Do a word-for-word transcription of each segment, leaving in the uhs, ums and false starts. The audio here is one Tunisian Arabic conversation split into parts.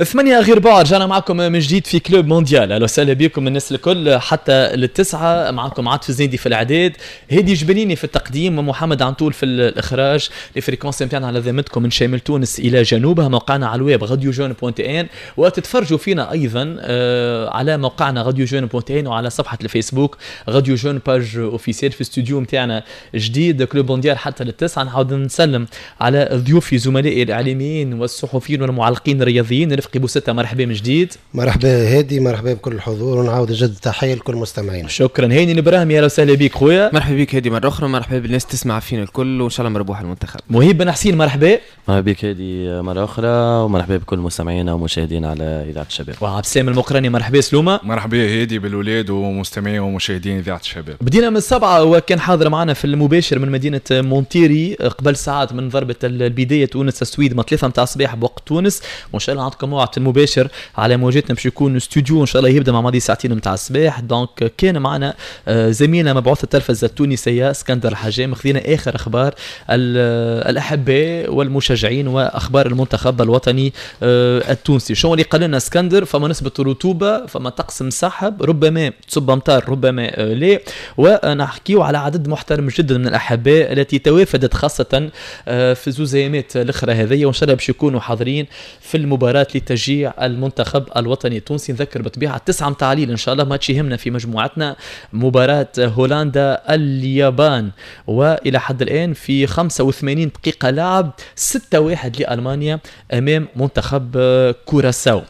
ثمانية غير ربع، رجعنا معكم من جديد في Club Mondial. اهلا وسهلا بكم الناس الكل حتى للتسعة. معكم عاطف الزنيدي في الاعداد، هادي جبنيني في التقديم، ومحمد عنطول في الاخراج. les fréquences نتاعنا على ذمتكم من شمال تونس الى جنوبها، موقعنا على الويب radio jeune point tn، وتتفرجوا فينا ايضا آه، على موقعنا radio jeune point tn وعلى صفحة الفيسبوك radio jeune page officielle. في استوديو نتاعنا جديد Club Mondial حتى للتسعة. نعاود نسلم على ضيوفي زملائي الاعلاميين والصحفيين والمعلقين الرياضيين. رفقي بوستة، مرحبا من جديد. مرحبا هادي، مرحبا بكل الحضور، ونعاود نجدد تحية لكل المستمعين. شكرا. هاني الابراهيمي، اهلا وسهلا بك خويا. مرحبا بك هادي مرة اخرى، مرحبا بالناس تسمع فينا الكل، وان شاء الله مربوح المنتخب. مهيب بن حسين، مرحبا. مرحبا بك هادي مرة اخرى، ومرحبا بكل مستمعينا ومشاهدينا على اذاعة الشباب. وعبد السلام المقراني، مرحبا سلومه. مرحبا هادي بالولاد ومستمعين ومشاهدين اذاعة الشباب. بدينا من السبعة وكان حاضر معنا في المباشر من مدينة مونتيري قبل ساعات من ضربه البداية تونس السويد، ما ثلاثة متاع الصباح بوقت تونس. وان شاء الله عندكم موعد المباشر على موجاتنا باش يكون استوديو ان شاء الله يبدا مع ماضي ساعتين متاع الصباح. donc كان معنا آه، زميلنا مبعوث التلفزة التونسية اسكندر الحجام، خذينا اخر اخبار الاحباء والمشجعين واخبار المنتخب الوطني آه، التونسي. شو اللي قال لنا اسكندر؟ فما نسبه رطوبه، فما طقس مسحب، ربما تصب امطار ربما آه، لا. ونحكيو على عدد محترم جدا من الاحباء التي توافدت خاصة في زوز ايامات الاخرى هذه، وان شاء الله باش يكونوا حاضرين في المباراة لتشجيع المنتخب الوطني التونسي. نذكر بالطبيعة تسعة متاع الليل ان شاء الله ماتش يهمنا في مجموعتنا، مباراة هولندا اليابان. والى حد الان في خمسة وثمانين دقيقة لعب ستة واحد لالمانيا امام منتخب كوراساو.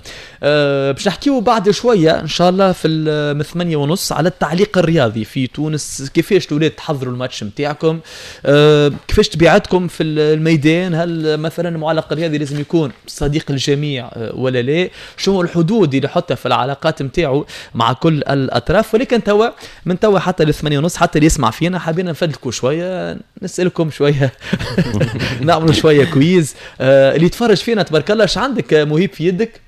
أه باش نحكيو بعد شوية ان شاء الله في من ثمانية ونص على التعليق الرياضي في تونس، كيفاش الاولاد تحضروا الماتش نتاعكم، أه كيفاش طبيعتكم في الميدان، هل مثلا المعلق الرياضي لازم يكون صديق الجميع أه ولا لا، شنو الحدود اللي يحطها في العلاقات نتاعو مع كل الاطراف. ولكن توا من توا حتى للثمانية ونص، حتى اللي يسمع فينا، حابين نفدلكوا شويه، نسالكم شويه، نعملوا شوية quiz. آه اللي يتفرج فينا تبارك الله، ايش عندك مهيب في يدك؟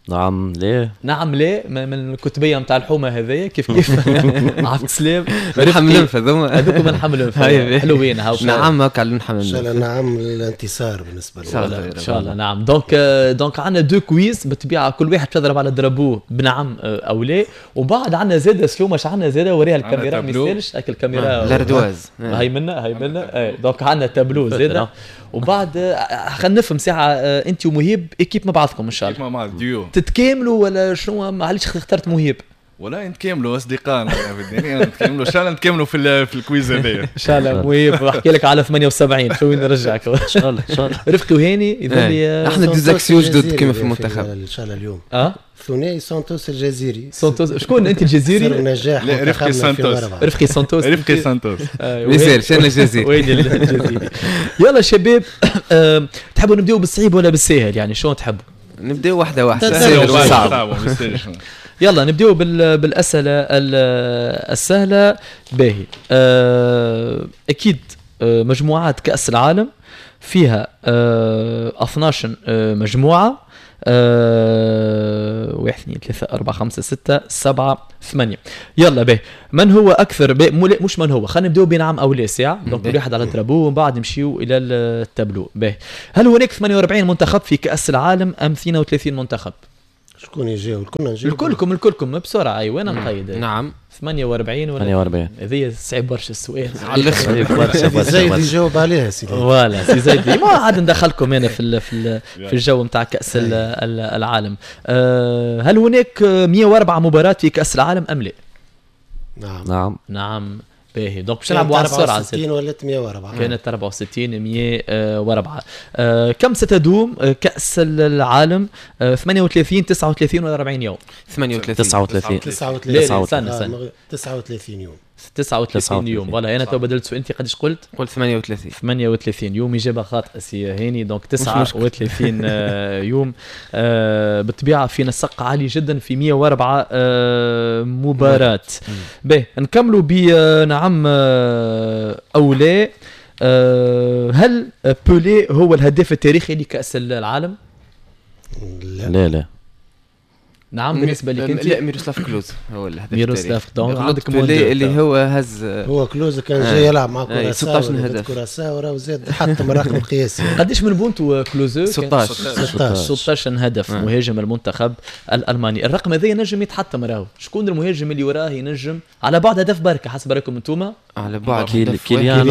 نعم ليه. نعم ليه من الكتبيه نتاع الحومه هذيا كيف كيف عبد السلام. من حمل هذوما. هذوك من حمل حلوين. هاو نعم هكا على ان شاء الله نعم الانتصار بالنسبة لنا. ان شاء الله نعم. donc donc عندنا deux quiz بالطبيعه، كل واحد تضرب على drapeau بنعم او لا. وبعد عندنا زاد سلومه، اش عندنا زاد؟ وريها الكاميرا ما يسالش هاك الكاميرا. l'ardoise. هاي منا هاي منا. donc عندنا تابلو زاد. وبعد خلينا نفهم ساعه، انت ومهيب équipe مع بعضكم ان شاء الله. مع بعض ديو. تتكاملوا ولا شنو؟ معليش اخترت مهيب. ولا نتكاملوا اصدقائنا في الدنيا، نتكاملوا ان شاء الله، نتكاملوا في في ال quiz هذايا. ان شاء الله. مهيب احكي لك على ثمانية وسبعين، شو وين نرجعك؟ ان شاء الله ان شاء الله. رفقي وهاني يظل لي احنا des axiaux جدد كما في المنتخب. ان شاء الله اليوم اه ثنائي سانتوس الجزيري. سانتوس شكون؟ انت الجزيري؟ سر نجاح. لا، رفقي سانتوس. رفقي سانتوس. رفقي سانتوس. ما يسالش، انا الجزيري. وين الجزيري؟ يلا شباب، تحبوا نبداو بالصعيب ولا بالساهل؟ يعني شلون تحبوا؟ نبداو واحدة واحده. سهل صعب. يلا نبداو بالاسئلة السهله. باهي، آه، اكيد آه، مجموعات كاس العالم فيها اثنا عشر آه، مجموعه، أه واحد اثنين ثلاثة أربعة خمسة ستة سبعة ثمانية. يلا باهي، من هو أكثر بي مش من هو، خلينا نبداو بنعم أو لا ساعة. donc كل واحد على drapeau ومن بعد نمشيو إلى التابلو. باهي، هل هناك ثمانية وأربعين منتخب في كأس العالم أم اثنين وثلاثين منتخب؟ شكون يجاوب؟ كلنا نجاوب. الكلكم الكلكم بسرعة. أيوة أنا مقيد. نعم. ثمانية وأربعين ولا ثمانية وأربعين. هذه صعيب برشا السؤال. على الاخر. برشا برشا. زيد يجاوب عليها سيدي. voilà سي زيد، ما عاد ندخلكم انا في في في الجو نتاع كاس العالم. أه هل هناك مية وأربعة مباراة في كاس العالم ام لا؟ نعم. نعم. نعم. باهي، donc باش نلعبوا على السرعه. أربعة وستين ولات مية وأربعة. كانت أربعة وستين مية وأربعة. آه كم ستدوم كأس العالم؟ آه ثمانية وثلاثين، تسعة وثلاثين ولا أربعين يوم؟ ثمانية وثلاثين. تسعة وثلاثين. تسعة وثلاثين. لا استنى استنى. تسعة وثلاثين يوم. تسعة وثلاثين يوم، voilà. انا تو بدلت سؤال، انت قداش قلت؟ قلت ثمانية وثلاثين. ثمانية وثلاثين يوم، اجابه خاطئه سي هاني. donc تسعة وثلاثين آه، يوم. آه، بالطبيعة في نسق عالي جدا في مية وأربعة آه، مباراه. باهي، نكملوا بنعم او لا. هل بولي هو الهداف التاريخي لكاس العالم؟ لا. لا لا. نعم بالنسبة لك انت؟ لا ميروسلاف كلوز هو الهداف. ميروسلاف donc عندك بيلي اللي هو هز، هو كلوز كان جاي يلعب مع كوراساو ستة عشر هدف، كوراساو راه زاد حطم الرقم القياسي. قداش من بونتو كلوزو؟ ستة عشر ستة عشر هدف. آه. مهاجم المنتخب الالماني. الرقم هذا ينجم يتحطم راهو، شكون المهاجم اللي وراه ينجم على بعد هدف بركة حسب رايكم انتوما؟ على بعد كيليان كيليان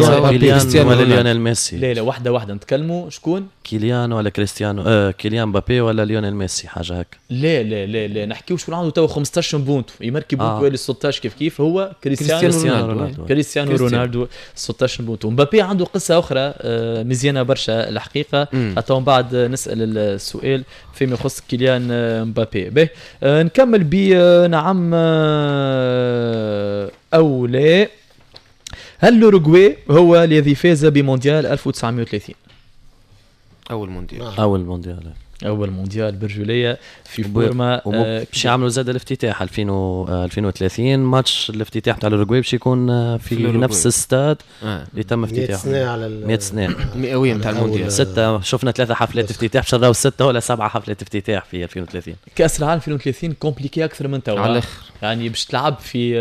ولا ليونيل ميسي؟ لا لا واحدة واحدة نتكلموا. شكون؟ كيليان ولا كريستيانو؟ آه كيليان مبابي ولا ليونيل ميسي حاجة هكا. لا لا لا لا نحكيو شكون عنده تو خمسة عشر بونت يمركي بونت آه. ستة عشر كيف كيف هو كريستيانو كريستيانو رونالدو. كريستيانو رونالدو ستة عشر بونت. مبابي عنده قصة اخرى مزيانه برشا الحقيقة، حتى من بعد نسال السؤال فيما يخص كيليان مبابي. به نكمل ب نعم او لا. هل الأوروغواي هو الذي فاز بمونديال ألف وتسعمائة وثلاثين؟ اول مونديال. اول مونديال اول مونديال برجولية في فورما. باش يعملوا زاد الافتتاح ألفين وثلاثين، ماتش الافتتاح تاع الأوروغواي باش يكون في, في نفس الاستاد آه. اللي تم افتتاحه مئة سنة على مئة سنة مئوية نتاع المونديال. ستة شفنا ثلاثة حفلات افتتاح، باش نراو ستة ولا سبعة حفلات افتتاح في ألفين وثلاثين. كاس العالم ألفين وثلاثين compliqué اكثر من توا على الاخر، يعني باش تلعب في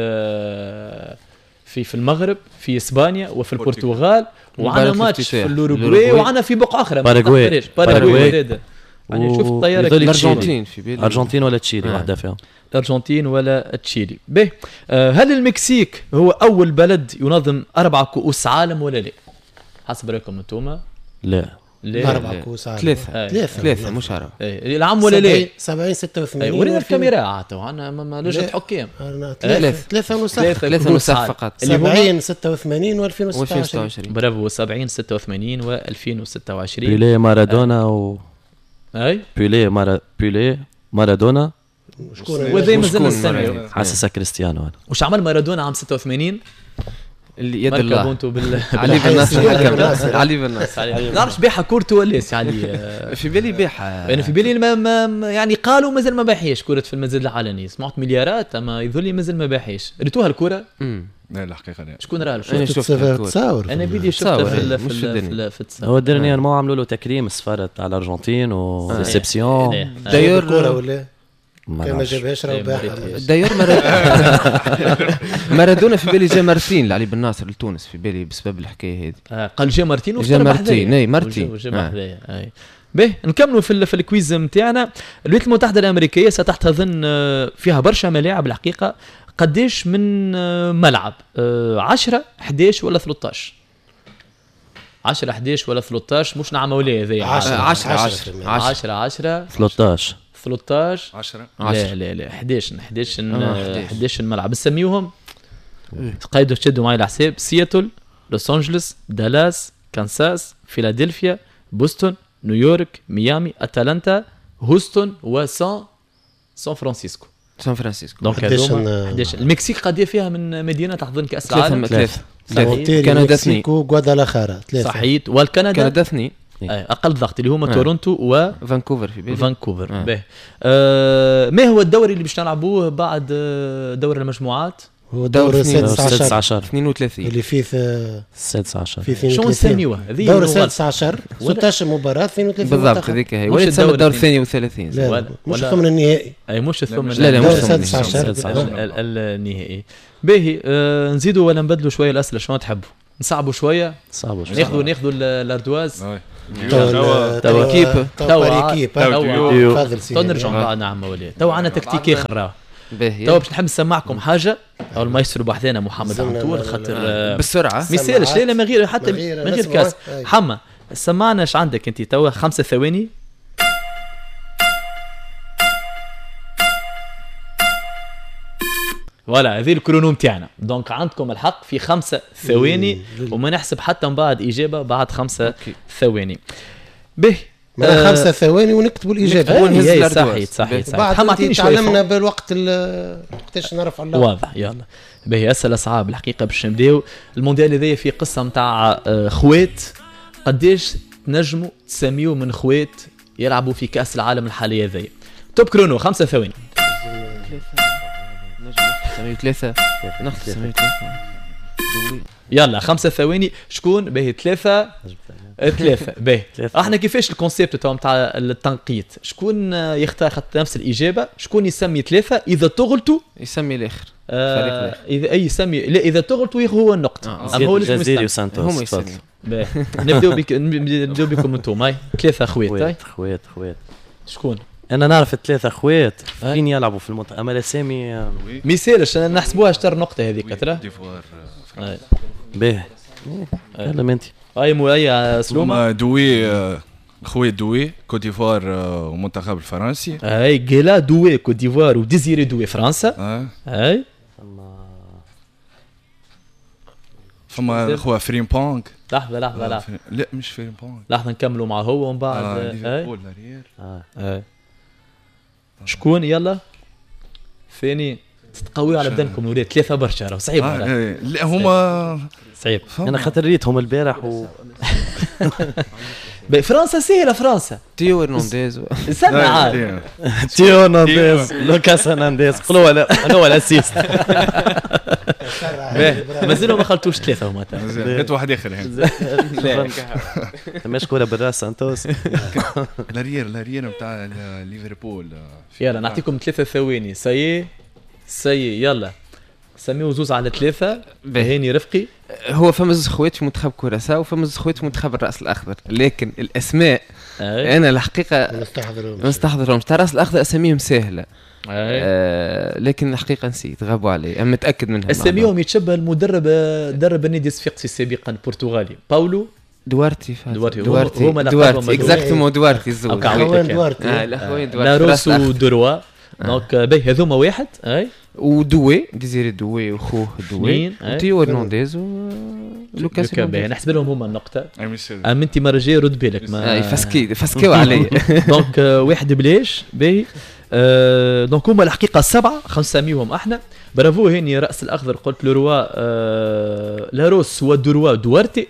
في في المغرب، في اسبانيا، وفي البرتغال، وعنا ماتش في الأوروغواي، وعنا في بقعة اخرى باراغواي. باراغواي يعني شوف الطيارة الارجنتين في بالي، الارجنتين ولا تشيلي، واحدة فيهم الارجنتين ولا تشيلي. به آه هل المكسيك هو اول بلد ينظم اربع كؤوس عالم ولا لا؟ حسب رايكم انتوما؟ لا لا اربع كؤوس عالم، ثلاثة ثلاثة مش اربعة. العام ولا لا؟ سبعين ستة وثمانين. ورينا الكاميرا عاد عندنا لجنة حكام. ثلاثة ثلاثة نسخ ثلاثة نسخ فقط، سبعين ستة وثمانين وألفين وستة وعشرين. برافو، سبعين ستة وثمانين وألفين وستة وعشرين. بيلي مارادونا و اي بيلي مارا بيلي مارادونا وذي مازلنا نستناو. حاسسها كريستيانو انا. وش عمل مارادونا عام ستة وثمانين؟ اللي يد الله بونتو بال علي بن ناصر. علي بن ناصر نعرفش بيعها كورته ولا سي علي؟ في بالي بيعها، انا في بالي ما ما يعني قالوا مازال ما باعهاش كرة في المزاد العلني، سمعت مليارات اما يظل لي مازال ما باعهاش. ريتوها الكرة؟ لا الحقيقة لا. شكون راه؟ انا شفتها تصاور، انا بيدي شفتها في في في التصاور. هو dernièrement عملوا له تكريم السفارة تاع الارجنتين و réception d'ailleurs الكره ولا كان ما جابهاش راه باعها. d'ailleurs مارادونا في بالي جا مرتين لعلي بن ناصر لتونس في بالي بسبب الحكاية هذه. قال جا مرتين جا مرتين اي مرتين جا بحذايا. اي به نكملوا في في ال quiz نتاعنا. الولايات المتحدة الامريكية ستحتضن فيها برشا ملاعب الحقيقة. قديش من ملعب؟ عشرة أحد عشر ولا ثلاثة عشر؟ عشرة أحد عشر ولا ثلاثة عشر؟ مش نعم ولا هذايا. عشرة عشرة عشرة عشرة ثلاثة عشر ثلاثة عشر عشرة. لا لا لا أحد عشر أحد عشر أحد عشر ملعب. نسميوهم تقيدوا تشدوا معي الحساب: سياتل، لوس انجلوس، دالاس، كانساس، فيلادلفيا، بوسطن، نيويورك، ميامي، اتلانتا، هوستون، وسان سان فرانسيسكو. سان فرانسيسكو. donc هذوما أحد عشر. المكسيك قد فيها من مدينة تحضن كاس العالم؟ ثلاثة ثلاثة. كندا اثنين، غوادالاخارا ثلاثة. صحيت. والكندا كندا اثنين اقل ضغط اللي هما آه. تورونتو وفانكوفر في بالي. فانكوفر آه. به آه ما هو الدوري اللي باش نلعبوه بعد دور المجموعات؟ هو دور السادس عشر اثنين وثلاثين اللي فيه السادس عشر. شو نسميوه؟ دور السادس عشر ستة عشر مباراة اثنين وثلاثين بالضبط هذيك هي. ولا تسمى الدور الثاني وثلاثين؟ لا مش الثمن النهائي. اي مش الثمن. لا لا مش السادس عشر النهائي. باهي آه نزيدوا ولا نبدلوا شوية الاسئلة؟ شنو تحبوا؟ نصعبوا شوية؟ نصعبوا شوية. ناخذوا ناخذوا ال ardoise توا توا équipe توا équipe تفضل سيدي. تو نرجعوا بعد نعم ولي تو عندنا تكتيك اخر راه. تو باش نحب نسمعكم حاجة او المايسترو بحذانا محمد عنتور خاطر بالسرعة ما يسالش. لا لا من غير حتى من غير كاس. حما سمعنا اش عندك انت توا خمسة ثواني. voilà هذه ال chrono نتاعنا. donc عندكم الحق في خمسة ثواني وما نحسب حتى من بعد اجابه بعد خمسة ثواني. به آه خمسة ثواني ونكتبوا الاجابة. صحيح صحيح صحيح. بعد تعلمنا بالوقت وقتاش نرفع اللوحة. واضح. يلا باهي اسئلة صعاب الحقيقة باش نبداو. المونديال هذايا في قصة نتاع خوات. قداش تنجموا تسميو من خوات يلعبوا في كاس العالم الحالية هذايا؟ top chrono خمسة ثواني. نسميو ثلاثة ناخذ نسميو ثلاثة. يلا خمسة ثواني. شكون؟ باهي ثلاثة ثلاثة. باهي احنا كيفاش ال concept تاع نتاع التنقيط؟ شكون يختار خاطر نفس الاجابة، شكون يسمي ثلاثة، اذا تغلطوا يسمي الاخر. آه اذا اي يسمي، لا اذا تغلطوا ياخذ هو النقطة. آه. اما هو الجزيري وسانتوس هما يسميوا. باهي نبداو بك، نبداو بكم انتم. هاي ثلاثة خوات. خوات خوات. شكون؟ انا نعرف الثلاثة خوات فين يلعبوا في المنتخب، اما الاسامي ما يسالش نحسبوها شطر نقطة هذيك ترى. باهي يلا انت. اي مو اي سلومه. دوي خويا دوي كوت ديفوار ومنتخب الفرنسي. اي جيلا دوي كوت ديفوار وديزيري دوي فرنسا. اي فما خويا فريمبونغ. لحظة لحظة لحظة. لا مش فريمبونغ. لحظة نكملوا مع هو ومن بعد. آه ليفربول l'arrière. اي شكون يلا ثاني تتقوي على بدنكم الولاد ثلاثة برشا راهو صعيب. آه لا هما صعيب. انا خاطر ريتهم البارح و فرنسا سهلة. فرنسا تيو هرنانديز. استنى عاد تيو هرنانديز لوكاس هرنانديز قولوا لا هو ال assist. مازالوا ما خلطوش ثلاثة هما. هات واحد اخر هنا. ماش كورة بالراس سانتوس. l'arrière l'arrière نتاع ليفربول. يلا نعطيكم ثلاثة ثواني. ça y est ça y est يلا سميو زوز على ثلاثة. هاني رفقي. هو فما زوز خوات في منتخب كوراساو وفما زوز خوات في منتخب الرأس الأخضر، لكن الأسماء أي. أنا الحقيقة ما نستحضرهمش. تاع الرأس الأخضر أساميهم سهلة آه، لكن الحقيقة نسيت، غابوا علي، أنا متأكد منها. أساميهم يتشبه المدرب درب النادي الصفاقسي سابقا البرتغالي باولو دوارتي. دوارتي دوارتي دوارتي exactement دوارتي الزوز. الأخوين دوارتي. الأخوين دوارتي. لاروسو دروا. donc باهي هذوما واحد. اي ودوي ديزيري دوي وخوه دوي وتيو هرنانديز ولوكاس. باهي نحسب لهم هما النقطة. اما انت مرة جاية رد بالك ما فاسكي فاسكيو علي. donc واحد بلاش. باهي donc هما الحقيقة سبعة خمسة احنا. برافو هاني رأس الأخضر قلت لروا لاروس ودروا دوارتي.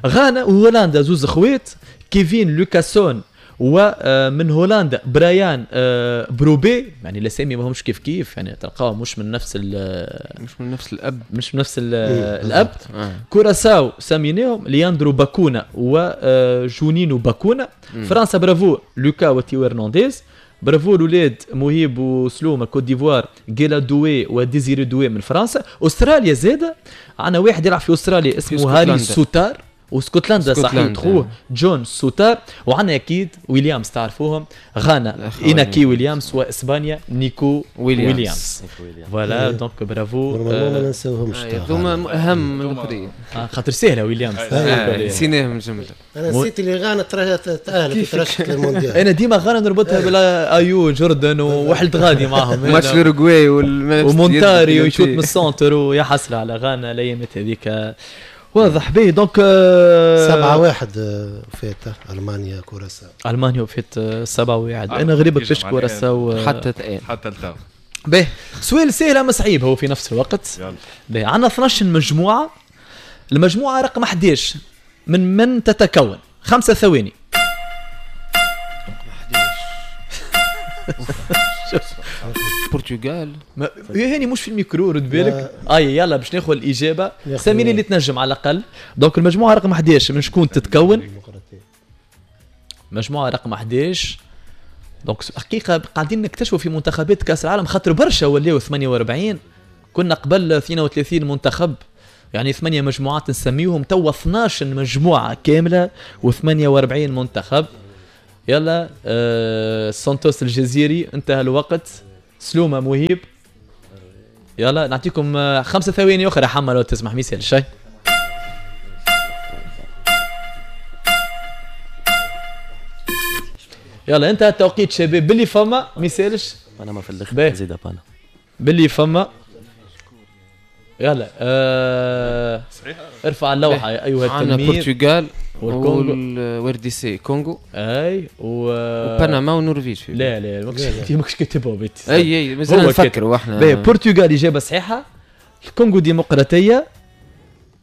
غانا وهولندا زوز خوات كيفين لوكاسون ومن هولندا برايان بروبي. يعني الاسامي ما همش كيف كيف، يعني تلقاهم مش من نفس مش من نفس الاب مش من نفس الاب. كوراساو سميناهم لياندرو باكونا وجونينو باكونا. فرنسا برافو لوكا وتيو هرنانديز. برافو الاولاد مهيب وسلومه كوت ديفوار جيلا دوي وديزيري دوي من فرنسا. استراليا زاده عندنا واحد يلعب في استراليا اسمه هاري سوتار. واسكتلندا صحيح خوه جون سوتار. وعندنا اكيد ويليامز تعرفوهم. غانا ايناكي ويليامز واسبانيا نيكو ويليامز. voilà donc bravo. normalement ما ننساوهمش هذوما اهم من الاخرين خاطر سهلة ويليامز نسيناهم الجملة. انا نسيت اللي غانا تاهلت ترشحت للمونديال. انا ديما غانا نربطها بلا ايو جوردن وحلت غادي معاهم ماتش الاوروغواي ومونتاري ويشوت من ال centre ويا حسرة على غانا الايامات هذيك. واضح به donc سبعة واحد فات ألمانيا كوراساو. ألمانيا فات سبعة واحد. أنا غريبة كيفاش كوراساو حتى الآن حتى التو. به سؤال سهل أما صعيب هو في نفس الوقت. به عندنا اثناش مجموعة. المجموعة رقم أحد عشر من من تتكون؟ خمسة ثواني. البرتغال يا هاني مش في الميكرو رد بالك. اي يلا باش ناخذ الاجابة ساميني اللي تنجم على الاقل. donc المجموعة رقم أحد عشر من شكون تتكون؟ مجموعة رقم أحد عشر. donc حقيقة قاعدين نكتشفوا في منتخبات كاس العالم خاطر برشا ولاو ثمانية وأربعين، كنا قبل اثنين وثلاثين منتخب، يعني ثمانية مجموعات نسميهم، توا اثناش مجموعة كاملة وثمانية وأربعين منتخب. يلا آه سانتوس الجزيري انتهى الوقت. سلومة مهيب يلا نعطيكم خمسة ثواني أخرى حما لو تسمح ميسال شيء. يلا انتهى التوقيت شباب. باللي فما ميسالش انا ما في الاخر زيد بانا باللي فما. يلا آه ارفع اللوحة يا ايها التلميذ. البرتغال وال RDC كونغو اي و وبنما والنرويج. لا لا ماكش ماكش كاتبها بيتي. اي اي مازال نفكروا احنا. البرتغال اجابه صحيحه، الكونغو ديمقراطية،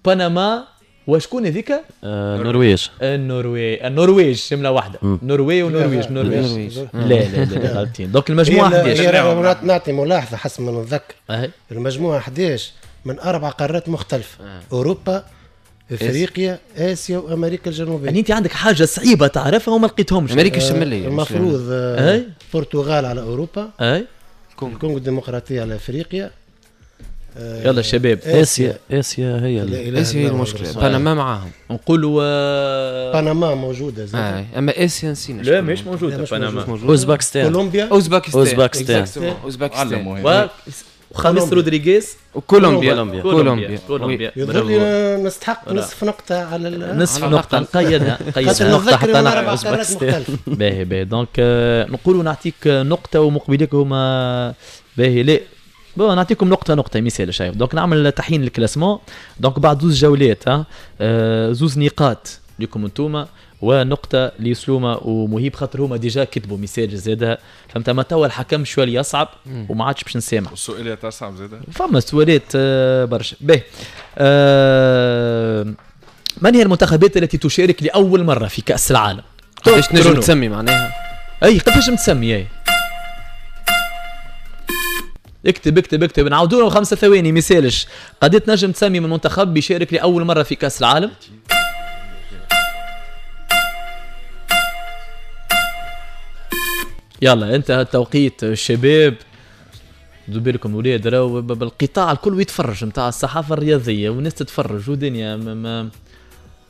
بنما وشكون هذيك؟ النرويج. النرويج النرويج جملة واحدة. النرويج ونرويج النرويج. لا لا لا غلطين. donc المجموعة أحد عشر. نعطي ملاحظة حسب ما نتذكر. المجموعة أحد عشر من اربع قارات مختلفة. آه. اوروبا، افريقيا، اسيا وامريكا الجنوبية. يعني انت عندك حاجة صعيبة تعرفها وما لقيتهمش. امريكا الشمالية المفروض. البرتغال على اوروبا، اي الكونغو الديمقراطية على افريقيا. يلا شباب، اسيا اسيا هي اسيا هي المشكلة. بنما معاهم نقولوا، بنما موجودة زاد. آه. اما اسيا نسينا. لا مش موجودة بنما. اوزبكستان، كولومبيا، اوزبكستان، اوزبكستان، اوزبكستان وخامس رودريغيز وكولومبيا. كولومبيا كولومبيا يظهر لي نستحق نصف نقطة على نصف نقطة نقيدها نقيدها نقطة حتى أوزبكستان. باهي باهي donc نقولوا نعطيك نقطة ومقبليك هما باهي. لا bon نعطيكم نقطة نقطة مثال شايف. donc نعمل تحيين ال classement. donc بعد زوز جولات ها آه زوز نقاط لكم انتوما ونقطة لسلومة ومهيب، خاطر هما déjà كتبوا message زادة فهمت. ما توا الحكم شوية يصعب وما عادش باش نسامح. والسؤالات أصعب زادة، فما سؤالات برشا. باهي آه من هي المنتخبات التي تشارك لأول مرة في كأس العالم؟ قداش تنجم تسمي معناها؟ أي قداش تسمي؟ أي اكتب اكتب اكتب، نعاودوا لهم خمسة ثواني مثالش. قد تنجم تسمي من منتخب بيشارك لأول مرة في كأس العالم؟ يلا انتهى التوقيت الشباب. دو بالكم ولاد راهو بالقطاع الكل يتفرج نتاع الصحافة الرياضية والناس تتفرج ودنيا ما.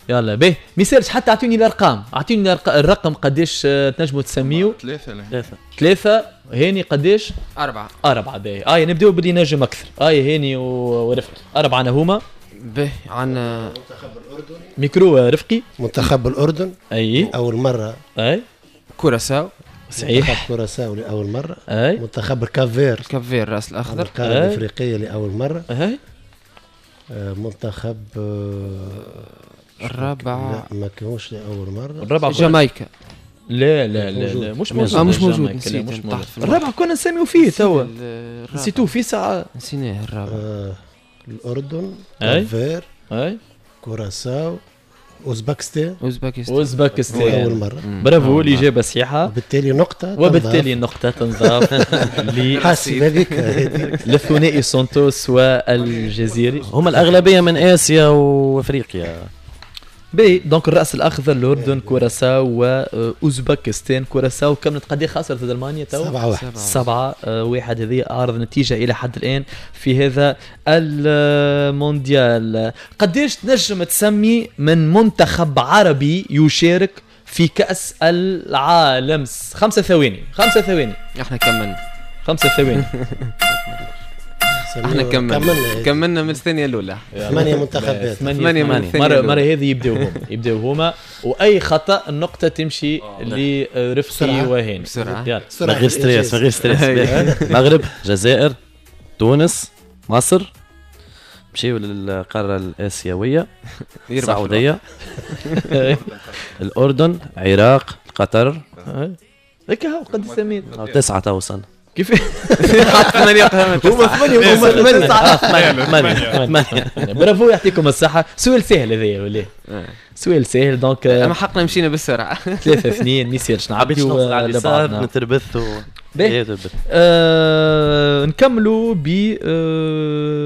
يلا به مثالش، حتى اعطيني الارقام، اعطيني الرقم قداش تنجموا تسميو. ثلاثة ثلاثة ثلاثة هاني قداش؟ أربعة أربعة. باهي آه نبداو باللي نجم أكثر. آه هاني ورفقي أربعة أنا هما. باهي عندنا منتخب الأردن، ميكرو رفقي. منتخب الأردن أي أول مرة. أي كوراساو، صحيح، منتخب كوراساو لأول مرة. أي منتخب الكافير، الكافير الرأس الأخضر، القارة الأفريقية لأول مرة. أي منتخب الرابع ما كانوش لأول مرة. الرابع جامايكا. لا لا لا, لا مش موجود. آه مش موجود، نسيت. مش الرابع كنا نسميو فيه توا، نسيتوه في ساعة، نسيناه الرابع. آه الأردن، كافير، أي كوراساو، أوزبكستان. أوزبكستان أوزبكستان أول مرة. برافو، الإجابة صحيحة، وبالتالي نقطة، وبالتالي النقطة تنضاف حاسب هذيك للثنائي سانتوس والجزيري. هما الأغلبية من آسيا وأفريقيا. باهي donc الرأس الأخضر الأردن، كوراساو وأوزبكستان. كوراساو كملت قد خسرت ضد ألمانيا تو؟ سبعة واحد. سبعة واحد، هذه أعرض نتيجة إلى حد الآن في هذا المونديال. قديش تنجم تسمي من منتخب عربي يشارك في كأس العالم؟ خمسة ثواني، خمسة ثواني. احنا كملنا خمسة ثواني. احنا كملنا كملنا من الثانية الأولى. ثمانية منتخبات، ثمانية من الثانية. مرة مرة هذه يبداو هما يبداو هما وأي خطأ النقطة تمشي لرفقي وهاني. بسرعة من غير stress، من غير stress. المغرب، جزائر، تونس، مصر، مشيو للقارة الآسيوية، السعودية، الأردن، العراق، قطر. هكا هو قد سميت تسعة تو وصلنا. كيف؟ ثمانية هما ثمانية هما ثمانية ثمانية. برافو، يعطيكم الصحة. سؤال سهل هذايا ولا؟ سؤال سهل donc اما حقنا مشينا بالسرعة. ثلاثة اثنين ما يصيرش نعبيو على اليسار نتربث و نكملوا ب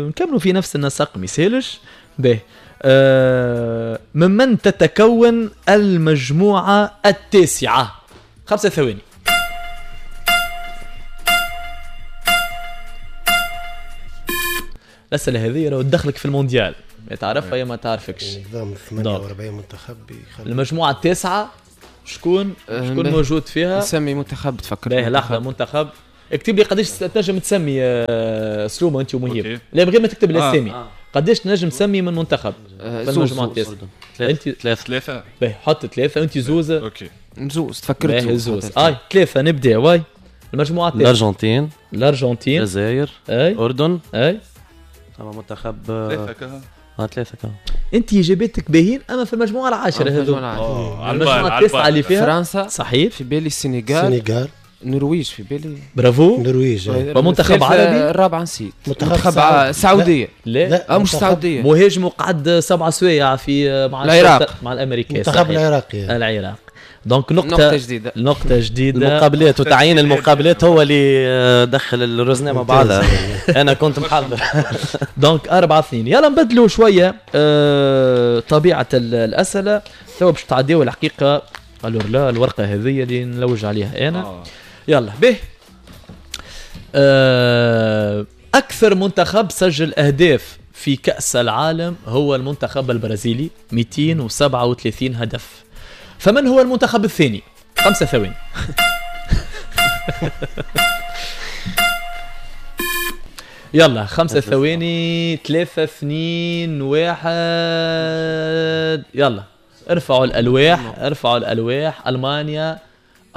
نكملوا في نفس النسق ما يسالش. باهي ممن تتكون المجموعة التاسعة؟ خمسة ثواني. الأسئلة هذه راهو تدخلك في المونديال، ما تعرفها يا ما تعرفكش. نظام ثمانية وأربعين منتخب يخلي المجموعة التاسعة شكون شكون موجود فيها؟ نسمي منتخب تفكر. باهي لحظة، منتخب اكتب لي قداش تنجم تسمي سلومة أنت ومهيب. لا من غير ما تكتب الأسامي. آه. قداش تنجم تسمي من منتخب آه في المجموعة التاسعة؟ أنت ثلاثة. ثلاثة. باهي حط ثلاثة وأنت زوزة. OK زوز تفكرت زوز. آه ثلاثة نبدأ. واي المجموعة التاسعة. الأرجنتين. الأرجنتين. الجزائر. الأردن. أي أما منتخب ثلاثة كها. اه ثلاثة كها. أنت إجاباتك باهين أما في المجموعة العاشرة هذو. المجموعة التاسعة اللي فيها فرنسا، صحيح، في بالي السنغال، السنغال، النرويج في بالي. برافو، النرويج. ومنتخب عربي الرابع نسيت، منتخب السعودية. لا, لا. مش السعودية. مهاجم وقعد سبع سوايع في مع العراق، مع الأمريكان. منتخب العراق، العراق. donc نقطة نقطة جديدة، نقطة جديدة. المقابلات وتعيين المقابلات هو اللي دخل الرزنة مع بعضها. أنا كنت محضر. donc أربعة اثنين. يلا نبدلوا شوية آه طبيعة الأسئلة. تو باش تعديو الحقيقة alors لا الورقة هذه اللي نلوج عليها أنا. آه. يلا به. آه أكثر منتخب سجل أهداف في كأس العالم هو المنتخب البرازيلي، مئتين وسبعة وثلاثين هدف. فمن هو المنتخب الثاني؟ خمسة ثواني. يلا خمسة ثواني، ثلاثة، اثنين، واحد. يلا ارفعوا الألواح، ارفعوا الألواح. ألمانيا،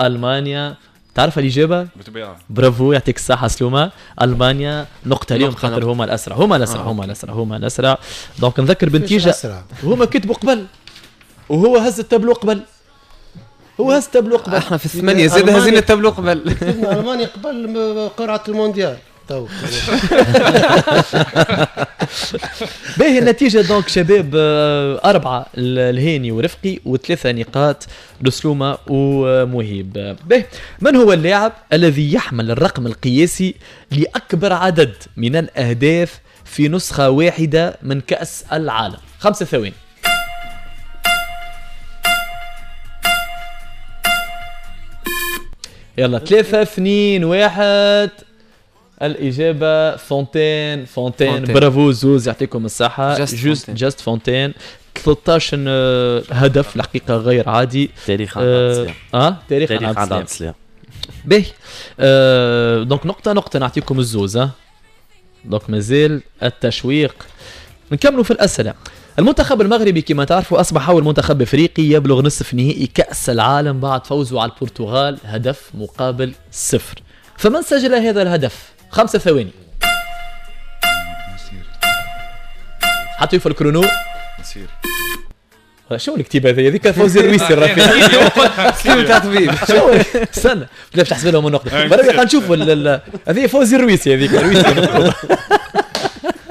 ألمانيا. تعرف الإجابة؟ بالطبيعة. برافو، يعطيك الصحة سلومة. ألمانيا نقطة اليوم خاطر هما الأسرع، هما الأسرع، هما الأسرع، هما الأسرع. donc نذكر بنتيجة هما كتبوا قبل وهو هز التابلو قبل، هو هز التابلو قبل. احنا في الثمانية زاد هزينا التابلو قبل. ألمانيا قبل قرعة المونديال تو. باهي النتيجة donc شباب، أربعة الهاني ورفقي وثلاثة نقاط لسلومة ومهيب. باهي، من هو اللاعب الذي يحمل الرقم القياسي لأكبر عدد من الأهداف في نسخة واحدة من كأس العالم؟ خمسة ثواني. يلا ثلاثة، اثنين، واحد. الإجابة فونتين. فونتين، برافو زوز، يعطيكم الصحة. جوست جاست فونتين، ثلاثة عشر هدف الحقيقة غير عادي. تاريخ عند عبد السلام. اه تاريخ عند عبد السلام. باهي آه، donc نقطة نقطة نعطيكم الزوز. اه donc مازال التشويق. نكملوا في الأسئلة. المنتخب المغربي كما تعرفوا أصبح أول منتخب أفريقي يبلغ نصف نهائي كأس العالم بعد فوزه على البرتغال هدف مقابل صفر. فمن سجل هذا الهدف؟ خمسة ثواني. حطوا في ال chrono. نصير. شو الكتيبة هذه؟ هذيك فوزي الرويسي الرفيق. تاع طبيب. شو استنى باش تحسب لهم النقطة. بربي خلينا نشوفوا هذه فوزي الرويسي، هذيك الرويسي.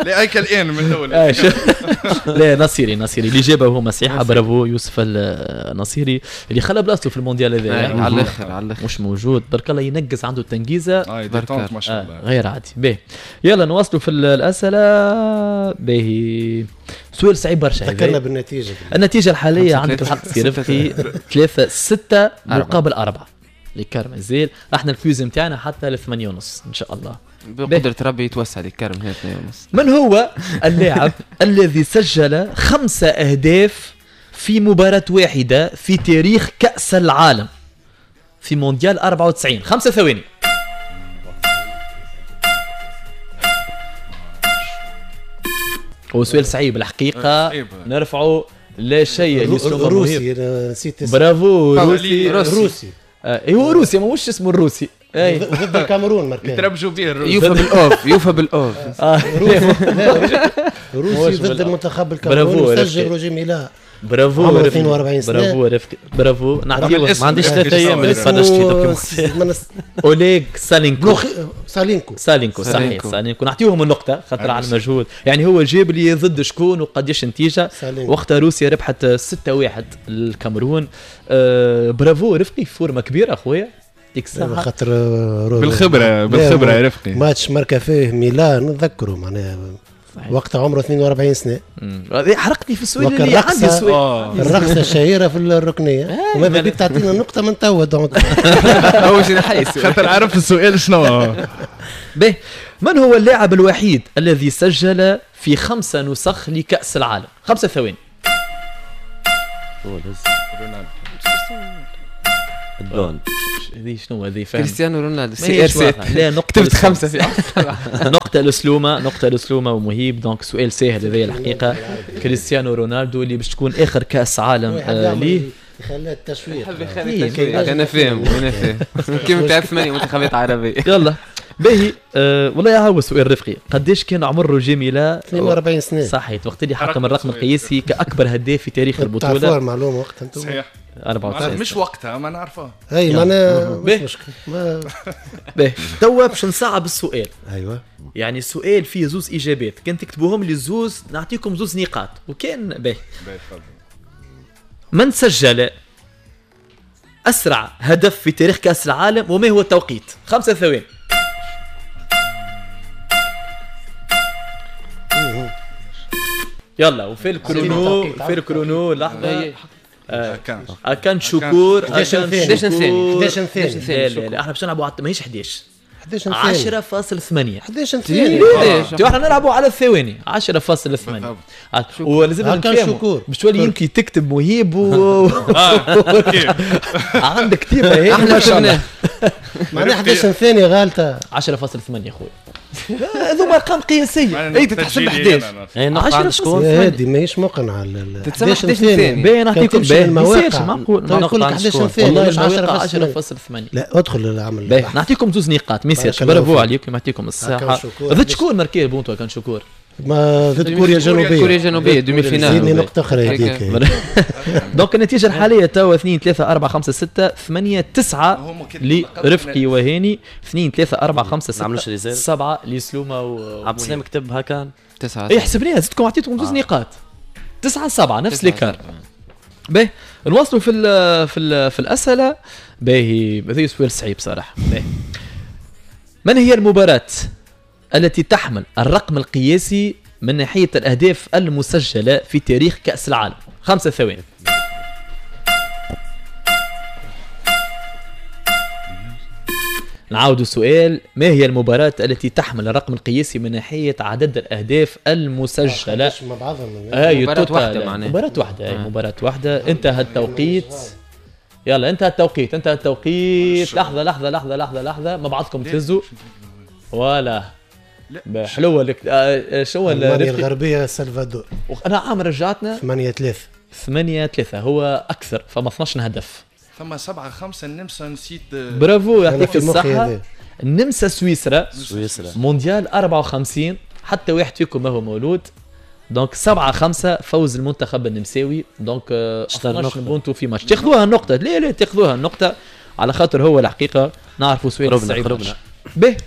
لا هيك الان من الاول. لا نصيري، نصيري اللي جابه هو صحيحه. برافو يوسف النصيري اللي خلى بلاصته في المونديال هذا على الاخر، على الاخر مش موجود. برك الله ينقص عنده التنقيزه، اه ما شاء الله غير عادي. باهي يلا نواصلوا في الاسئلة. باهي سؤال صعيب برشا. ذكرنا بالنتيجة. النتيجة الحالية عندك الحق سي رفقي، ثلاثة ستة مقابل أربعة l'écart مازال. احنا ال quiz نتاعنا حتى لثمانية ونص ان شاء الله بقدرة ربي يتوسع l'écart من اثنين ونص. من هو اللاعب الذي سجل خمسة أهداف في مباراة واحدة في تاريخ كأس العالم في مونديال أربعة وتسعين؟ خمسة ثواني. هو سؤال صعيب الحقيقة، نرفعه لا شيء. روسي، نسيت. برافو روسي. روسي آه هو روسي، ماهوش اسمه الروسي. اي ضد الكاميرون مركز. يتربجوا به الروسي. يوفى بالاوف، يوفى بالاوف. روسي ضد المنتخب الكاميروني سجل روجي ميلا. برافو، عمره اثنين وأربعين سنة. برافو رفقي، برافو. نعطيه ما عنديش ثلاث ايام اللي تفرجت فيه. اوليغ سالينكو. سالينكو سالينكو صحيح، سالينكو. نعطيهم النقطة خاطر على المجهود، يعني هو جاب لي ضد شكون وقداش نتيجة. وقتها روسيا ربحت ستة واحد الكاميرون. آه برافو رفقي، forme كبيرة اخويا، يعطيك الصحة. خاطر بالخبرة، بالخبرة يا رفقي. ماتش ماركا فيه ميلان نتذكره معناها وقتها عمره اثنين وأربعين سنة. حرقتني في السؤال اللي عندي سؤال. الرقصة الشهيرة في الركنية، وماذا بيك تعطينا نقطة من توا donc. هو شي نحيس خاطر عرف السؤال شنو. به، من هو اللاعب الوحيد الذي سجل في خمسة نسخ لكأس العالم؟ خمسة ثواني. الدون. هذه شنو هذه؟ فاهم كريستيانو رونالدو CR سبعة. لا نقطة كتبت خمسة في نقطة لسلومة، نقطة لسلومة ومهيب. donc سؤال ساهل هذا الحقيقة. كريستيانو رونالدو اللي باش تكون آخر كأس عالم ليه. يخلي التشويق. التشويق. أنا فاهم، أنا فاهم. كيف تعرف ثمانية منتخبات عربية. يلا باهي. أه والله هو سؤال رفقي، قداش كان عمر روجي ميلا؟ اثنين وأربعين سنة. صحيح، وقت اللي حطم الرقم القياسي كأكبر هداف في تاريخ البطولة. تعرفوها المعلومة وقتها انتم؟ صحيح. أربعة وتسعين. مش وقتها ما نعرفها. اي معناها مش مشكل. باهي توا باش نصعب السؤال. ايوه. يعني السؤال فيه زوز اجابات، كان تكتبوهم لي زوز نعطيكم زوز نقاط، وكان باهي. باهي تفضل. من سجل اسرع هدف في تاريخ كاس العالم وما هو التوقيت؟ خمسة ثواني. يلا وفي ال chrono، في ال chrono لحظة. اكان شكور، احداش ثانية، احداش ثانية. لا لا احنا باش نلعبوا ماهيش احداش، احداش عشرة فاصل ثمانية. احداش ثانية. احنا نلعبوا على الثواني. عشرة فاصل ثمانية. ولازم نفهموا باش تولي انت تكتب مهيب و عندك كتيبة هي احنا شفناه. معناها احداش ثانية غالطة. عشرة فاصل ثمانية خويا. هذوما ارقام قياسية. اي تتحسب احداش. عشرة شكون هذه ماهيش مقنعة. تتسمى احداش ثانية. باين نعطيكم باين ما يصيرش معقول. نقول لك احداش ثانية مش عشرة فاصل ثمانية. لا ادخل للعمل. نعطيكم زوز نقاط ما يصيرش. برافو عليكم يعطيكم الصحة. ضد شكون marqué بونتو كان شكور؟ ما ضد كوريا الجنوبية. كوريا الجنوبية demi-finale. زيدني نقطة أخرى هذيك. donc النتيجة الحالية توا اثنين ثلاثة أربعة خمسة ستة ثمانية تسعة لرفقي وهاني، اثنين ثلاثة أربعة خمسة ستة سبعة لسلومة و عبد السلام كتب هكا تسعة. اي حسبناها زدتكم عطيتكم زوز نقاط. تسعة سبعة نفس l'écart. باهي نواصلوا في ال في ال في الأسئلة. باهي هذا سؤال صعيب صراحة. باهي من هي المباراة التي تحمل الرقم القياسي من ناحية الأهداف المسجلة في تاريخ كأس العالم؟ خمسة ثواني. نعاود السؤال، ما هي المباراة التي تحمل الرقم القياسي من ناحية عدد الأهداف المسجلة؟ مع بعضهم. مباراة واحدة معناها. مباراة واحدة، مباراة واحدة. انتهى التوقيت. يلا انتهى التوقيت، انتهى التوقيت. لحظة لحظة لحظة لحظة لحظة، مع بعضكم تهزوا. voilà حلوة لك. آه شو المانيا الغربية السلفادور. انا عام رجعتنا ثمانية ثلاثة. ثمانية ثلاثة هو اكثر، فما اثناش هدف. ثم سبعة خمسة النمسا نسيت. برافو يعطيك الصحة. النمسا سويسرا. سويسرا مونديال أربعة وخمسين، حتى واحد فيكم ما هو مولود. donc سبعة خمسة فوز المنتخب النمساوي. donc اثناش بونتو في ماتش. تاخذوها النقطة؟ لا لا تاخذوها النقطة على خاطر هو الحقيقة نعرفوا سويسرا صعيب. به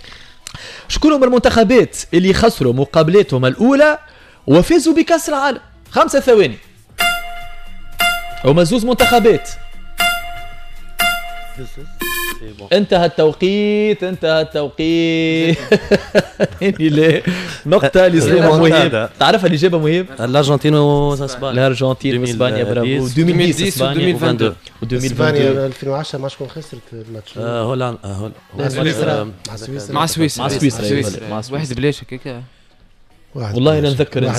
شكون هم المنتخبات اللي خسروا مقابلاتهم الأولى وفازوا بكأس العالم؟ خمسة ثواني. هما زوز منتخبات. انتهى التوقيت، انتهى التوقيت. لا نقطة لسليمان مهيب. تعرفها الإجابة مهيب؟ الأرجنتين وإسبانيا. الأرجنتين وإسبانيا برافو. ألفين وعشرة إسبانيا ألفين واثنين وعشرين. إسبانيا ألفين وعشرة مع شكون خسرت الماتش؟ هولندا. مع سويسرا. مع سويسرا. مع سويسرا. واحد بلاش هكاك. والله لا نتذكر.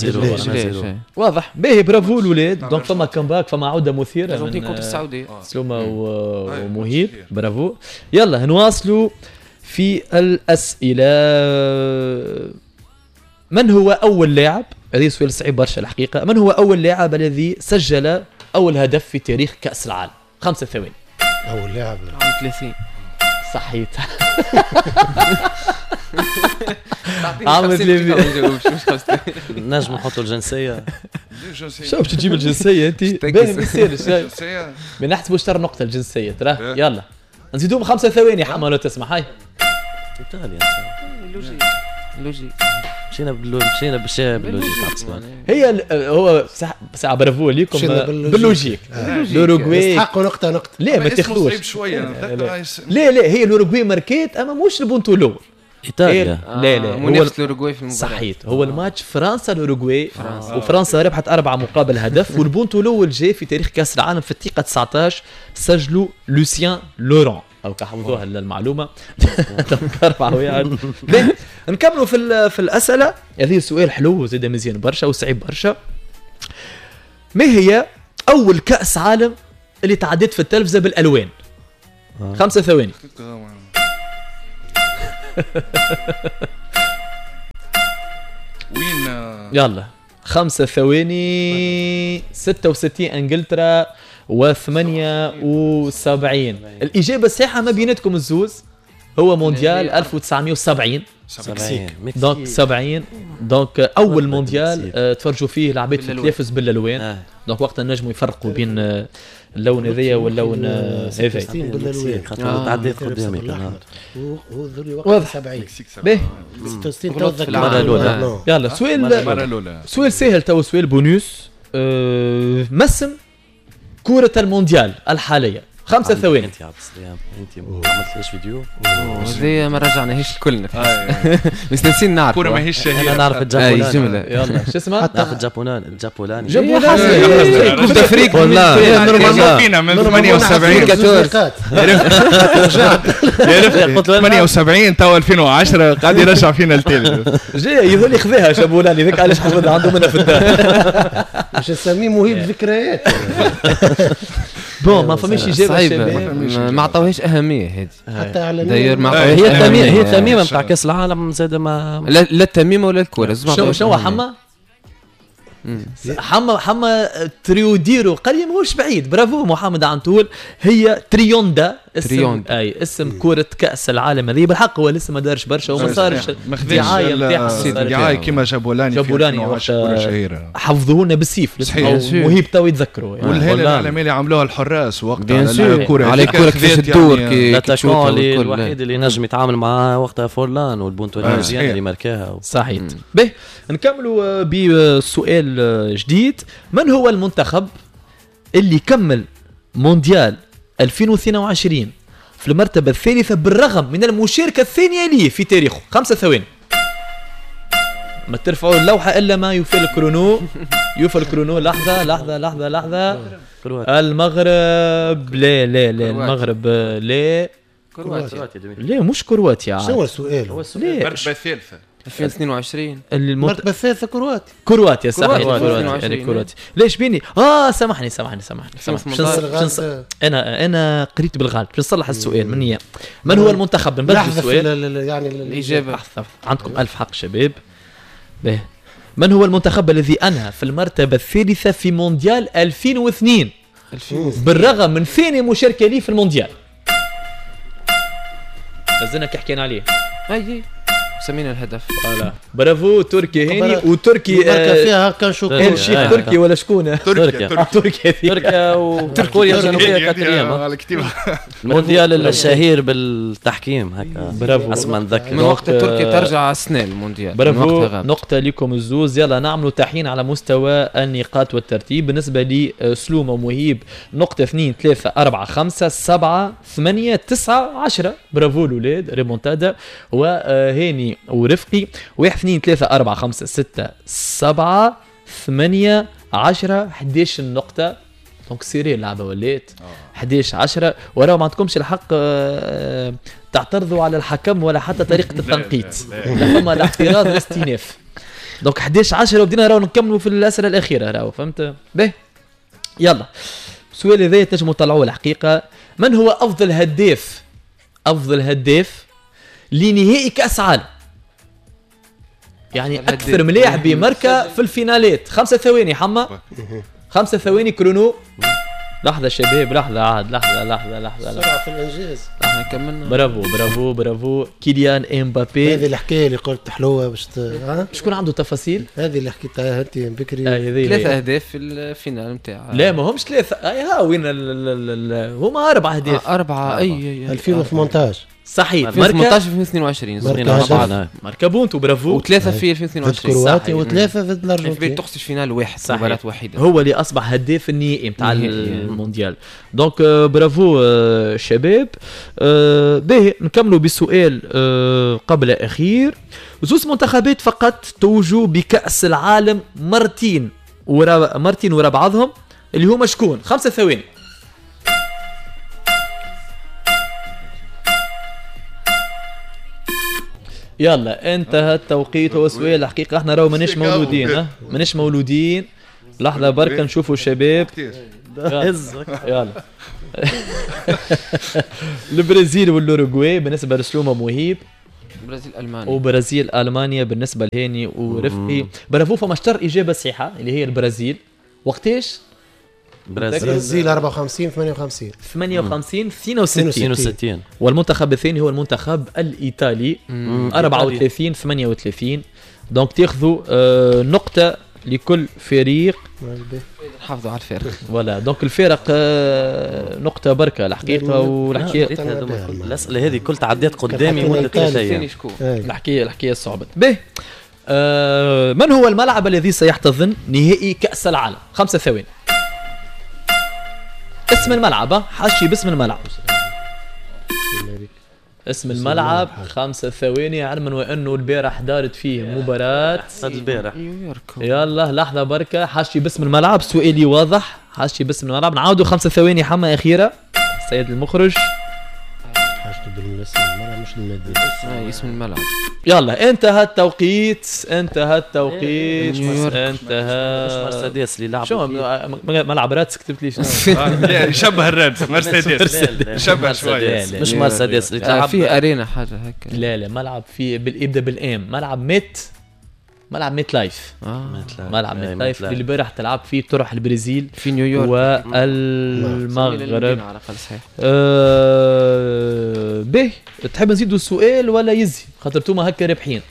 واضح. باهي برافو الاولاد. donc فما comeback، فما عوده مثيرة الارجنتين contre السعودية. سلومه ومهيب برافو. يلا نواصلوا في الاسئلة. من هو اول لاعب، هذا سؤال صعيب برشا الحقيقة، من هو اول لاعب الذي سجل اول هدف في تاريخ كاس العالم؟ خمسة ثواني. اول لاعب عام ثلاثين. صحيت. عامل نجم نحطوا الجنسية. شو باش تجيب الجنسية انت؟ باهي ما يصيرش. ما نحسبوش ترى نقطة الجنسية ترى. يلا نزيدوهم خمسة ثواني حما لو تسمح. هاي ايطاليا logique logique. مشينا مشينا بال logique. هي هو ساعة برافو ليكم بال logique. الاوروغواي يستحقوا نقطة نقطة. لا ما تاخذوش. لا لا هي الاوروغواي ماركيت اما مش البونتو الاول. ايطاليا. آه. لا لا منافسه الاوروغواي في المباراة. صحيت هو الماتش فرنسا الاوروغواي، وفرنسا ربحت أربعة مقابل هدف، والبونتو الاول جاي في تاريخ كاس العالم في الدقيقة تسعطاش سجلوا لوسيان لوران. او حفظوها المعلومة. أربعة واحد. نكملوا في في الاسئلة. هذه سؤال حلو زاد مزيان برشا وصعيب برشا. ما هي اول كاس عالم اللي تعدت في التلفزة بالالوان؟ آه. خمسة ثواني. وين؟ يلا خمسة ثواني. ستة وستين انجلترا وثمانية وسبعين. الإجابة الصحيحة ما بيناتكم الزوز هو مونديال ألف وتسعمية وسبعين. donc سبعين. donc أول مونديال تفرجوا فيه العباد في التلفز بالألوان. donc وقتها نجموا يفرقوا بين اللون هذايا واللون هذايا. بالالوان تعديت قدامي. واضح. سبعين. باهي. ستة وستين تو. يلا سؤال سؤال سهل تو، سؤال بونوس. ما اسم كرة المونديال الحالية؟ خمسة ثواني. انت يا عبد السلام انت ما عملتليش فيديو هذه ما رجعناهاش الكلنا مستنسين نعرف الكورة ماهيش انا نعرف الجابولاني. يلا شو اسمها؟ نعرف الجابولاني الجابولاني جابولاني Coupe d'Afrique والله فينا من ثمانية وسبعين ثمانية وسبعين تو ألفين وعشرة قاعد يرجع فينا التالي. جاي يظل يخذيها جابولاني ذاك علاش حفظها عنده منها في الدار. باش نسميه مهيب ذكريات. bon ما فماش اجابه شباب، ما عطاوهاش اهمية هذه حتى اعلاميا. هي التميمه هي التميمه نتاع كاس العالم زاد ما لا التميمه ولا الكورة. شو شو حما حما حما تريوديرو قال لي ماهوش بعيد. برافو محمد عنتول، هي تريوندا اسم تريوندا. اي اسم كرة كأس العالم هذه. بالحق هو لسه ما دارش برشا وما صارش دعاية نتاعها، دعاية كيما جابولاني جابولاني وقت حفظوه لنا بالسيف. مهيب تو يتذكروا يعني. والهالة الإعلامية اللي عملوها الحراس وقتها على الكرة على الكرة كيفاش تدور كي الوحيد اللي نجم يتعامل معاه وقتها فورلان والبونتو المزيان اللي ماركاها. صحيح. به نكملوا بسؤال جديد. من هو المنتخب اللي كمل مونديال ألفين واثنين وعشرين في المرتبة الثالثة بالرغم من المشاركة الثانية ليه في تاريخه؟ خمسة ثواني. ما ترفعوا اللوحة إلا ما يوفي ال chrono. يوفي ال chrono. لحظة لحظة لحظة لحظة. المغرب لا لا لا المغرب لا كرواتيا لا مش كرواتيا. شنو السؤال؟ هو السؤال المرتبة الثالثة ألفين واثنين وعشرين المرتبة الثالثة كرواتيا. كرواتيا صحيح كرواتيا كرواتيا. ليش بيني؟ اه سامحني سامحني سامحني سامحني. انا انا قريت بالغلط. باش نصلح السؤال من هي من هو المنتخب؟ نبدل السؤال يعني الاجابة. عندكم ألف حق شباب. به من هو المنتخب الذي انهى في المرتبة الثالثة في مونديال ألفين واثنين بالرغم من ثاني مشاركة ليه في المونديال؟ مازلنا كي حكينا عليه. اي سمينا الهدف. voilà برافو تركي هاني وتركي آه فيها كان شو الشيخ تركي ولا شكون؟ تركيا تركيا تركيا وكوريا الجنوبية quatrième. المونديال الشهير بالتحكيم هكا. برافو اسمع نذكر من وقت تركيا ترجع السنة المونديال. برافو نقطة لكم الزوز. يلا نعملوا تحيين على مستوى النقاط والترتيب. بالنسبة لي سلومه ومهيب نقطة اثنين ثلاثة أربعة خمسة سبعة ثمانية تسعة عشرة. برافو الاولاد ريمونتادا. وهاني ورفقي واحد اثنين ثلاثة أربعة خمسة ستة سبعة ثمانية عشرة حداش نقطة. donc serrée اللعبة ولات حداش عشرة. وراو ما عندكمش الحق تعترضوا على الحكم ولا حتى طريقة التنقيط. لا فما الاعتراض والاستئناف. donc حداش عشرة وبدينا راهو نكملوا في الأسئلة الأخيرة راهو فهمت؟ به يلا السؤال هذا تنجموا تطلعوه الحقيقة. من هو أفضل هداف أفضل هداف لنهائي كأس عالم؟ يعني أكثر ملاعب ماركة في الفينالات. خمسة ثواني حما خمسة ثواني chrono. لحظة شباب لحظة عاد لحظة لحظة لحظة سرعة في الإنجاز. احنا كملنا. برافو برافو برافو كيليان امبابي. هذه الحكاية اللي قلت حلوة باش ت... شكون عنده تفاصيل؟ هذه اللي حكيتها انت بكري. آه ثلاثة أهداف في ال finale نتاع. لا ما همش ثلاثة. اي ها وين ال... ال... هما أربعة أهداف. آه أربعة أي أي ألفين وثمانطاش صحيح. ألفين وثمانطاش ألفين واثنين وعشرين ماركا بونتو برافو. وثلاثة في ألفين واثنين وعشرين ضد كرواتيا وثلاثة ضد الأرجنتين. تقصد finale واحد مباراة وحيدة. هو اللي أصبح هداف النهائي نتاع المونديال. donc برافو شباب. باهي نكملوا بسؤال قبل أخير. زوز منتخبات فقط توجوا بكأس العالم مرتين ورا مرتين ورا بعضهم اللي هما شكون؟ خمسة ثواني. يلا انتهى التوقيت. هو سؤال الحقيقة احنا راهو ماناش مولودين ها ماناش مولودين. لحظة بركة نشوفوا الشباب. يلا البرازيل والاوروغواي بالنسبة لسلومه مهيب. البرازيل المانيا وبرازيل المانيا بالنسبة لهاني ورفقي. برافو فما اشتر اجابه صحيحه اللي هي البرازيل. وقتاش؟ البرازيل أربعة وخمسين ثمانية وخمسين ثمانية وخمسين اثنين وستين. والمنتخب الثاني هو المنتخب الايطالي أربعة وثلاثين ثمانية وثلاثين. donc تاخذوا آه نقطة لكل فريق. نحافظوا على الفارق. voilà donc الفارق آه نقطة بركة الحقيقة. والحكاية الاسئلة هذه كل تعديت قدامي مده ثلاث ايام. الحكاية الحكاية صعبت. به آه من هو الملعب الذي سيحتضن نهائي كأس العالم؟ خمسة ثواني. اسم الملعب، حاشي باسم الملعب. اسم الملعب خمسة ثواني، علما وانه البارح دارت فيه مباراة البارح. يلا لحظة بركة، حاشي باسم الملعب، سؤالي واضح، حاشي باسم الملعب. نعاودوا خمسة ثواني حما أخيرة السيد المخرج. حاجته بالاسم الملعب مش المدينة. اسم الملعب. يلا انتهى التوقيت، انتهى التوقيت، انتهى. مش مرسيدس اللي لعبوا شو ملعب رادس كتبت لي شنو؟ يشبه الرادس مرسيدس، يشبه شوية. مش مرسيدس اللي تلعب فيه arena حاجة هكا. لا لا ملعب فيه يبدا بال M، ملعب ميت، ملعب ميت لايف. آه. ملعب ميت لايف اللي البارح تلعب فيه طرح البرازيل في نيويورك والمغرب. آه به تحب نزيدوا السؤال ولا يزي؟ خاطر توما هكا رابحين.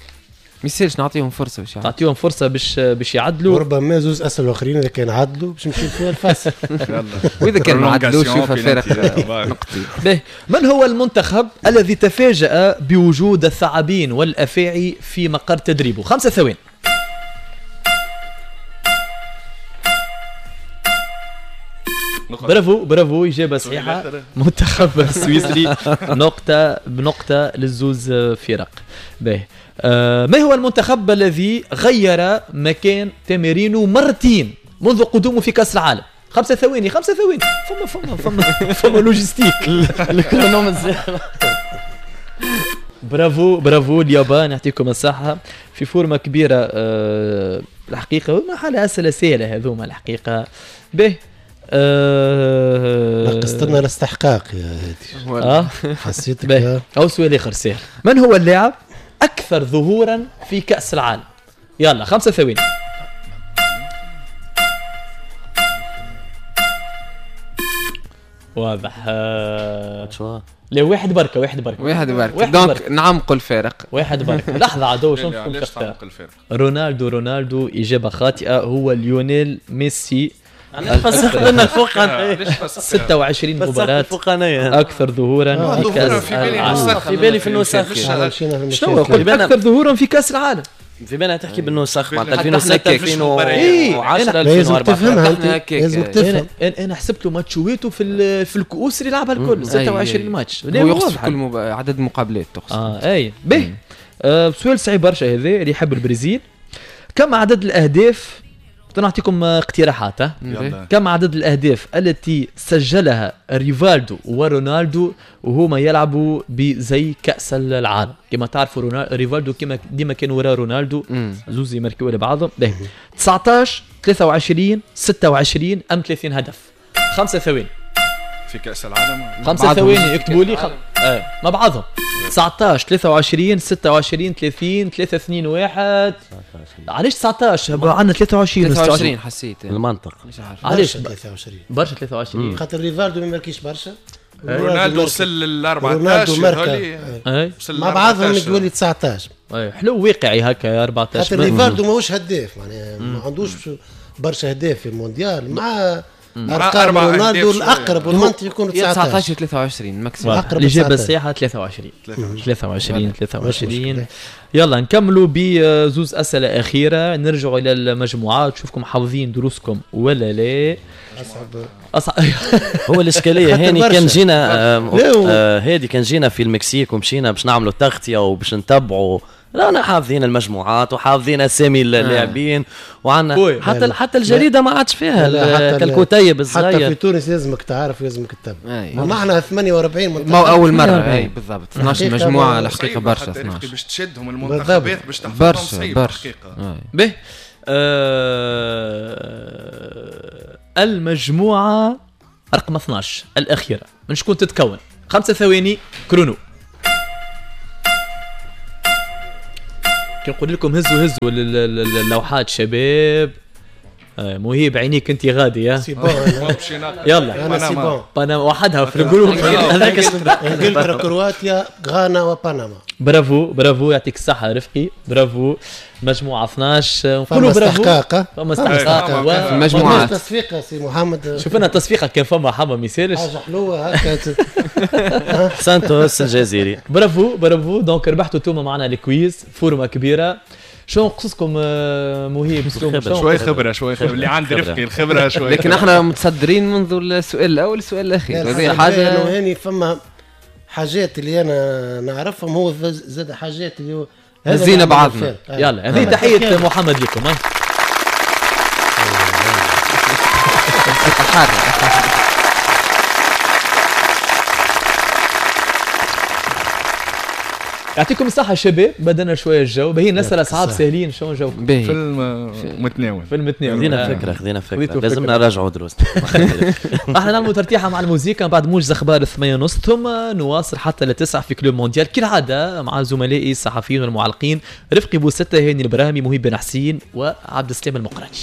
ما يصيرش نعطيهم فرصة باش نعطيهم فرصة باش باش يعدلوا. ربما زوز اسئلة اخرين اذا كان عدلوا باش نمشيو فيها الفاصل. واذا كان ما عدلوش شوف الفارق نقطي. به من هو المنتخب الذي تفاجأ بوجود الثعابين والافاعي في مقر تدريبه؟ خمسة ثواني. برافو برافو، إجابة صحيحة. منتخب السويسري، نقطة بنقطة للزوز فرق. باهي آه، ما هو المنتخب الذي غير مكان تمارينه مرتين منذ قدومه في كأس العالم؟ خمسة ثواني، خمسة ثواني. فما فما فما فما logistique. ال chrono. برافو برافو اليابان، يعطيكم الصحة في forme كبيرة. آه، الحقيقة ما حالة أسئلة سهلة هذوما الحقيقة. به أه نقصت لنا الاستحقاق يا هادي. اه حسيتك. او سؤال اخر سهل، من هو اللاعب اكثر ظهورا في كأس العالم؟ يلا خمسة ثواني. واضح. آه. لا واحد بركة، واحد بركة، واحد بركة. donc نعمقوا الفارق. واحد بركة. لحظة عدو شنو تختار؟ رونالدو رونالدو إجابة خاطئة، هو ليونيل ميسي. فسخت لنا الفوقانية. ستة وعشرين مباراة أكثر ظهورا في كأس العالم. في بالي في النسخ. شنو قلت أكثر ظهورا في كأس العالم؟ في بالنا تحكي بالنسخ معناتها ألفين وستة ألفين وعشرة ألفين وأربعة. لازم تفهم. انا حسبت له ماتشويته في في الكؤوس اللي لعبها الكل ستة وعشرين ماتش. هو يقصد كل مب... عدد مقابلات تقصد. اه اي به. آه سؤال صعيب برشا هذا اللي يحب البرازيل. كم عدد الاهداف؟ نعطيكم اقتراحات. كم عدد الأهداف التي سجلها ريفالدو ورونالدو وهما يلعبوا بزي كأس العالم؟ كما تعرفوا ريفالدو كما ديما كان وراء رونالدو، زوز يماركوا لبعضهم. تسعطاش ثلاثة وعشرين ستة وعشرين أم ثلاثين هدف؟ خمسة ثواني. في كأس العالم خمسة ثواني اكتبوا لي خم... آه. مع بعضهم. تسعطاش ثلاثة وعشرين ستة وعشرين ثلاثين ثلاثة اثنين واحد. علاش تسعطاش؟ عندنا ثلاثة وعشرين ثلاثة وعشرين حسيت المنطق. مش عارف علاش ثلاثة وعشرين برشا. ثلاثة وعشرين خاطر ريفالدو ما ماركيش برشا، رونالدو وصل لل أربعطاش مع بعضهم يولي تسعطاش. اي حلو واقعي هكا أربعطاش. خاطر ريفالدو ماهوش هداف، معناها ما عندوش برشا اهداف في المونديال مع ارقام رونالدو الاقرب والمنطق يكون تسعطاش ثلاثة وعشرين maximum. الاجابة الصحيحة ثلاثة وعشرين ثلاثة وعشرين ثلاثة وعشرين. يلا نكملوا بزوز اسئلة اخيرة، نرجعوا الى المجموعات. شوفكم حافظين دروسكم ولا لا. اصعب اصعب هو الاشكالية هاني كان جينا آه هادي كان جينا في المكسيك ومشينا باش نعملوا تغطيه وباش نتبعوا، رانا حافظين المجموعات وحافظين اسامي اللاعبين وعندنا حتى حتى الجريدة ما عادش فيها الكتيب الصغير. حتى في تونس لازمك تعرف لازمك تتبع. ما احنا ثمانية وأربعين منتخب، ما اول مرة. اي بالضبط اثناش مجموعة الحقيقة برشا. اثناش باش تشدهم المنتخبات باش تحفظهم صعيب الحقيقة. به آه المجموعة رقم اثناش الاخيرة من شكون تتكون؟ خمسة ثواني chrono. كي نقول لكم هزوا هزوا اللوحات شباب. مهيب عينيك انت غادي يا يلا انا c'est bon. بنما وحدها في ال groupe هذاك. انجلترا كرواتيا غانا وبنما. برافو برافو يعطيك الصحة رفقي، برافو. مجموعة اثناش نقولوا برافو. فما استحقاق في المجموعات. تصفيقه سي محمد، شوف لنا تصفيقه كان فما حما ما يسالش حاجة حلوة هكا. سانتوس الجزيري. برافو برافو. donc ربحتوا توما معنا ال quiz، forme كبيرة. شو نقصكم مهيب؟ شوي خبره، شوي خبره اللي عند رفقي الخبرة شوي. لكن احنا متصدرين منذ السؤال الاول السؤال الاخير. هذه حاجة هاني، فما حاجات اللي انا نعرفهم، هو زاد حاجات اللي هزينا بعضنا. يلا هذه تحية محمد لكم. يعطيكم الصحة شباب، بدنا شوية الجو باهي، نسأل أصحاب ساهلين شلون جو في المتناول. في المتناول خذينا فكرة، خذينا فكرة، لازم نراجعوا دروسنا. احنا نعملوا ترتيحة مع الموسيقى بعد موجز أخبار الثمانية ونص، ثم نواصل حتى لتسعة في Club Mondial كالعادة مع زملائي الصحفيين والمعلقين رفقي بوستة، هاني البراهمي، مهيب بن حسين، وعبد السلام المقراني.